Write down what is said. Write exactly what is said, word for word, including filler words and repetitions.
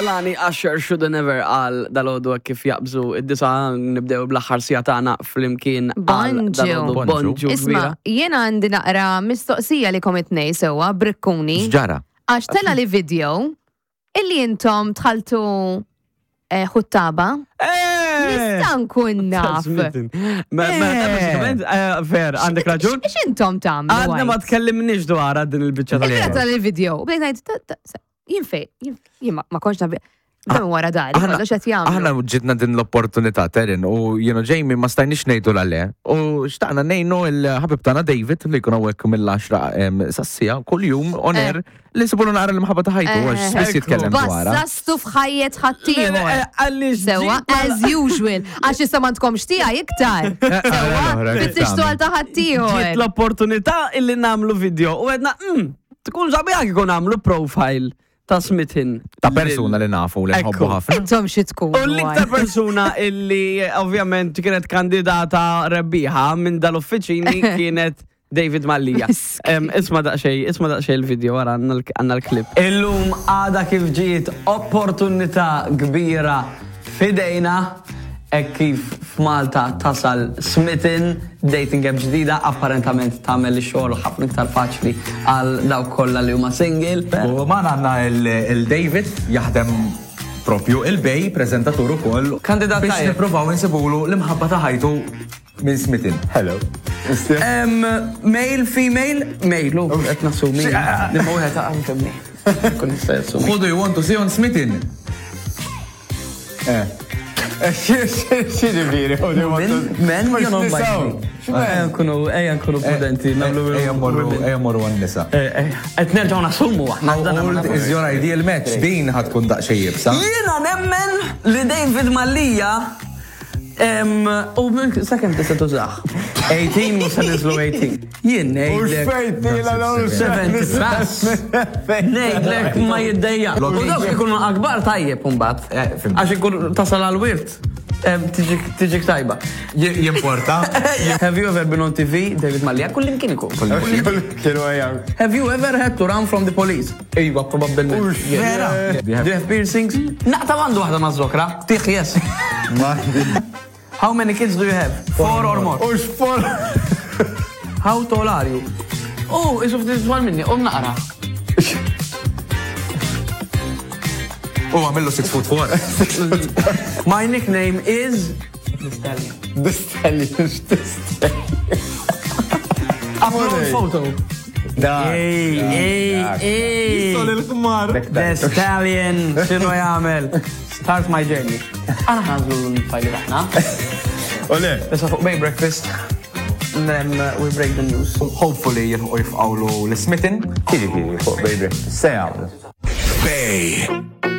Kehlani, Usher, Shoulda Never għal dalgħodu kif jaqbżu id-disgħa, nibdew bl-aħħar siegħa tagħna flimkien għal Bonġu. dalgħodu. Bonġu. Bonġu Isma, kbira. jiena għandi naqra mistoqsija li kom it-tnejn sewwa, brikkuni. X'ġara? Għax telgħali video illi intom dħaltu eh, ħuttaba. Nista' nkun naf. Ma, ma, bażikament, eh, ver, għandek raġun. X'intom intom tagħmlu? Għadna ma għajt? tkellimniex dwar din il-biċċa Il-vera tal tal-video. U bdejt ngħid, ta- ta- sa- jien fej, jien jien ma ma kontx naf. Dan wara dari, Aħna- kollox qed jagħmlu. Aħna ġitna din l-opportunità, Terin, u jiena Jamie ma stajniex ngħidu le. U xtaqna ngħinu il-ħabib tagħna David li jkun hawnhekk mill-għaxra sas-siegħa kuljum on air li nsibulu naqra l-imħabba ta' ħajtu għax Eh, spiss jitkellem dwarha. Bassastu f'ħajjet ħaddieħor. Għalli Sewwa, as usual. Għax issa m'għandkomx tiegħi iktar. Sewwa, oħra, kif fittixtu tagħmel? għal ta' ħaddieħor. Ġiet l-opportunità illi nagħmlu video u għedna, mm, tkun sabiħa kikun nagħmlu profile ta' Smitten. Ta' persuna li nafu li nħobbu Ekku. ħafna. Intom xi tkunu. U l-iktar persuna illi eh, ovvjament kienet kandidata rebbieħa minn dal-uffiċini kienet David Mallia. Em, Isma daqxej, isma daqxej il-video wara għandna l- għandna l-klip. Illum għada kif ġiet opportunità kbira fidejna e kif f'Malta tasal Smitten, dating app ġdida, apparentament tagħmel ix-xogħol ħafna iktar faċli għal dawk kollha li huma single. U magħna għandna il-David jaħdem propju il-Bay, prezentatur ukoll. Kandidat biex tajjeb. nippruvaw insibulu l-imħabba ta' ħajtu minn Smitten. Hello. Um, male, female, male, u qed nassumi. Imma wieħed għan femni. Kun nista' jassumi. Who do you want to see on Smitten? Eh. X'jiġifieri? Who do you want to- Men, men, jew non Nisaw. Ejja nkunu, ejja nkunu prudenti, nagħmlu. Ejja mmorru, ejja mmorru għan-nisa. Qed nerġgħu nassumu aħna. How old is your ideal match? Din ħa tkun daqsxejn iebsa. Jiena nemmen li David Mallia em, u minn sakemm tista' tużah. tmintax mhux se niżlu tmintax. Jien U ngħidlek x'fejn tila l seventy plus. Ngħidlek ma jiddejja. U dawk ikunu akbar tajjeb imbagħad. Eh, fhimt. Għax ikun tasal għal-wirt. Em, Tiġik tiġik tajba. Jimporta. Have you ever been on T V? David Mallia, kullimkien ikun. Kienu għajja. Have you ever had to run from the police? Iva, probabbilment. Ux, Vera. Do you have- Do you have piercings? Naqta għandu waħda ma' żokra. Tiħ, yes. How many kids do you have? Four or more. U xfor. How tall are you? Oh, isu ftit twal minni, um naqra. U għamillu six foot four. My nickname is The Stallion. The Stallion, x'tistallion. Upload photo. Da. Ej, ej, ej. il-kmar. The Stallion, x'inhu jagħmel? Start my journey. Aħna ħa nagħżlu l-fajli aħna. Ole. Issa fuq Bay Breakfast. And then uh, we break the news. Hopefully jilħu jifqawlu l-Smitten. Jiġifieri fuq Bay Breakfast. Se jagħmlu. Bay.